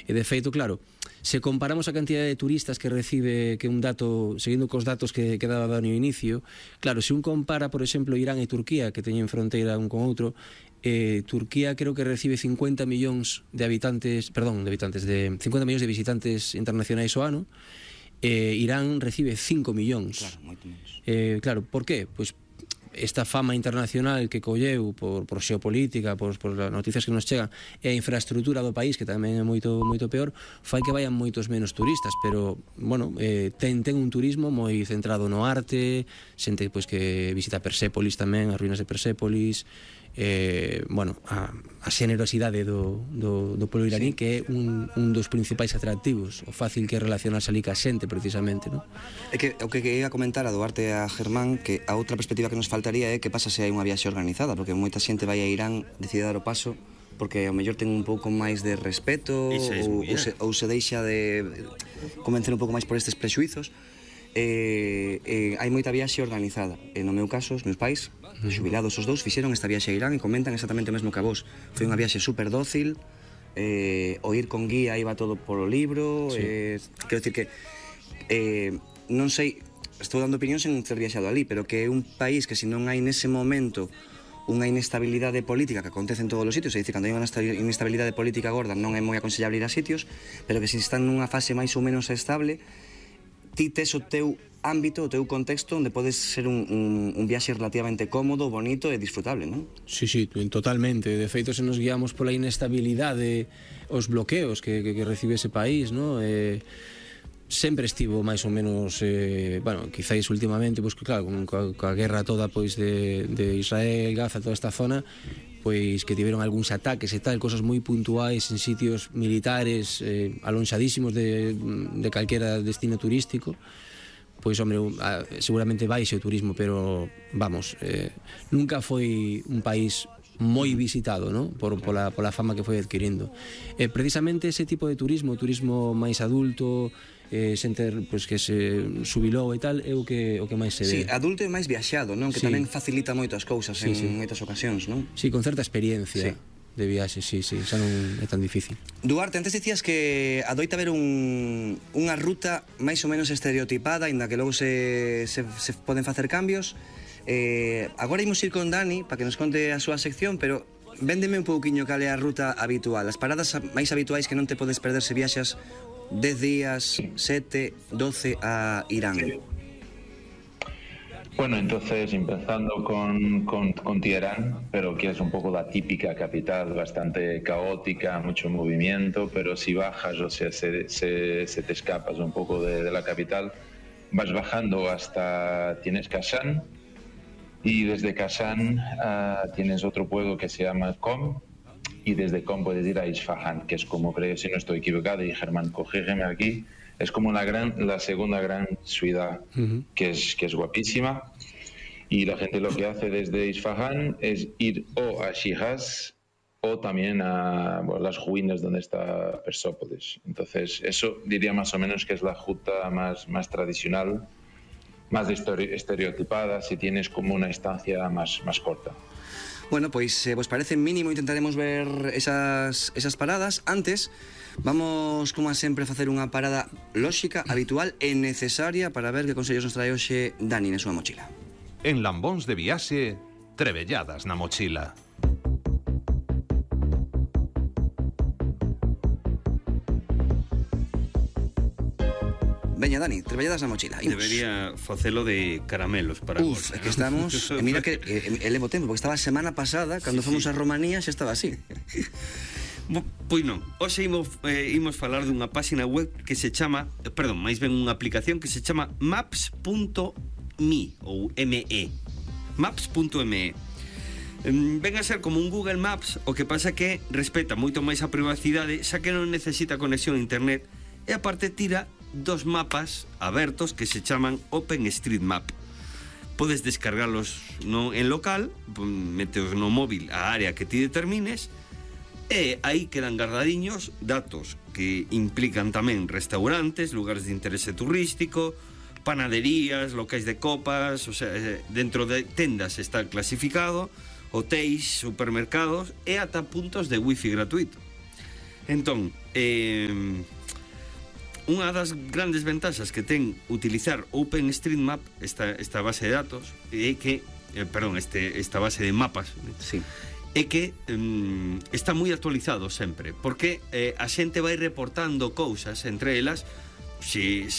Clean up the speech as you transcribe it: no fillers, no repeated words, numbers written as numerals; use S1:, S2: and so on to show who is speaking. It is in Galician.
S1: E de feito, claro, se comparamos a cantidad de turistas que recibe, que un dato, seguindo cos datos que daba no inicio, claro, se un compara, por exemplo, Irán e Turquía, que teñen fronteira un con outro, Turquía creo que recibe 50 millóns de habitantes, de 50 millóns de visitantes internacionais ao ano. Irán recibe 5 millóns.
S2: Claro, moito menos.
S1: Claro, por qué? Pois esta fama internacional que colleu por xeopolítica, por as noticias que nos chegan, e a infraestructura do país, que tamén é moito peor, fai que vayan moitos menos turistas, pero, bueno, ten un turismo moi centrado no arte, xente pois que visita Persépolis tamén, as ruínas de Persépolis, bueno, a xenerosidade do pueblo iraní, que é un dos principais atractivos, o fácil que é relacionarse ali ca xente, precisamente, non?
S2: É que o que ia comentar a Duarte a Germán, que a outra perspectiva que nos faltaría é que pasa se hai unha viaxe organizada, porque moita xente vai a Irán, decide dar o paso porque ao mellor ten un pouco máis de respeto ou se deixa de convencer un pouco máis por estes prexuizos. Hai moita viaxe organizada. No meu caso, os meus pais, xubilados os dous, fixeron esta viaxe a Irán e comentan exactamente o mesmo que a vos. Foi unha viaxe super dócil, o ir con guía iba todo polo libro, quero dicir que non sei, estou dando opinión sen ter viaxado ali, pero que é un país que se non hai nese momento unha inestabilidade política que acontece en todos os sitios, é dicir, cando hai unha inestabilidade política gorda non é moi aconsellable ir a sitios, pero que se están nunha fase máis ou menos estable, ti tes o teu ámbito, o teu contexto onde podes ser un viaxe relativamente cómodo, bonito e disfrutable, non?
S1: Sí, totalmente. De feito, se nos guiamos pola inestabilidade, os bloqueos que recibe ese país, non? Sempre estivo máis ou menos, bueno, quizáis últimamente, pois que claro, coa guerra toda pois de Israel, Gaza, toda esta zona, pois que tiveron algúns ataques e tal, cosas moi puntuais en sitios militares alonxadísimos de calquera destino turístico. Pois, hombre, seguramente baixe o turismo, pero, vamos, nunca foi un país moi visitado, ¿no? Pola fama que foi adquirindo. Precisamente ese tipo de turismo, turismo máis adulto, xente pois, que se xubilou e tal, é o que máis se ve.
S2: Sí, adulto e máis viaxado, non? Que tamén facilita moito as cousas en moitas ocasións, non?
S1: Sí, con certa experiencia de viaxe, xa non é tan difícil.
S2: Duarte, antes dicías que adoita haber unha ruta máis ou menos estereotipada, inda que logo se poden facer cambios. Agora imos ir con Dani para que nos conte a súa sección, pero véndeme un pouquiño cal é a ruta habitual, as paradas máis habituais que non te podes perder se viaxas 10 días, 7, 12 a Irán.
S3: Bueno, entonces empezando con Teherán, pero que es un poco la típica capital, bastante caótica, mucho movimiento, pero si bajas, o sea, se te escapas un poco de la capital, vas bajando hasta, tienes Kashan, y desde Kashan tienes otro pueblo que se llama Qom, y desde Qom puedes ir a Isfahan, que es como, creo, si no estoy equivocado, y Germán, corrígeme aquí, es como la segunda gran ciudad, que es guapísima, y la gente lo que hace desde Isfahan es ir o a Shiraz o también a las ruinas donde está Persópolis. Entonces eso diría más o menos que es la ruta más tradicional, más estereotipada, si tienes como una estancia más corta.
S2: Bueno, pois se vos parece mínimo intentaremos ver esas paradas. Antes, vamos, como sempre, a facer unha parada lóxica, habitual e necesaria para ver que consellos nos trae hoxe Dani na súa mochila.
S4: En Lambóns de Viaxe, trebelladas na mochila.
S2: Veña, Dani, trebelladas na mochila. Imos.
S5: Debería facelo de caramelos para vos.
S2: É que estamos... mira que levo tempo, porque estaba a semana pasada, cando fomos a Romanía, xa estaba así.
S5: Pois non, hoxe imos falar dunha página web que se chama, perdón, máis ben unha aplicación que se chama Maps.me ou ME. Maps.me. Ven a ser como un Google Maps, o que pasa que respeta moito máis a privacidade, xa que non necesita conexión a internet, e aparte tira dos mapas abertos que se chaman OpenStreetMap. Podes descargarlos en local, meteos no móvil a área que ti determines, e aí quedan guardadiños datos que implican tamén restaurantes, lugares de interese turístico, panaderías, locais de copas, o sea, dentro de tendas está clasificado, hotéis, supermercados e ata puntos de wifi gratuito. Entón, unha das grandes ventaxas que ten utilizar OpenStreetMap, esta base de datos, é que, esta base de mapas,
S2: Sí.
S5: é que está moi actualizado sempre, porque a xente vai reportando cousas, entre elas, se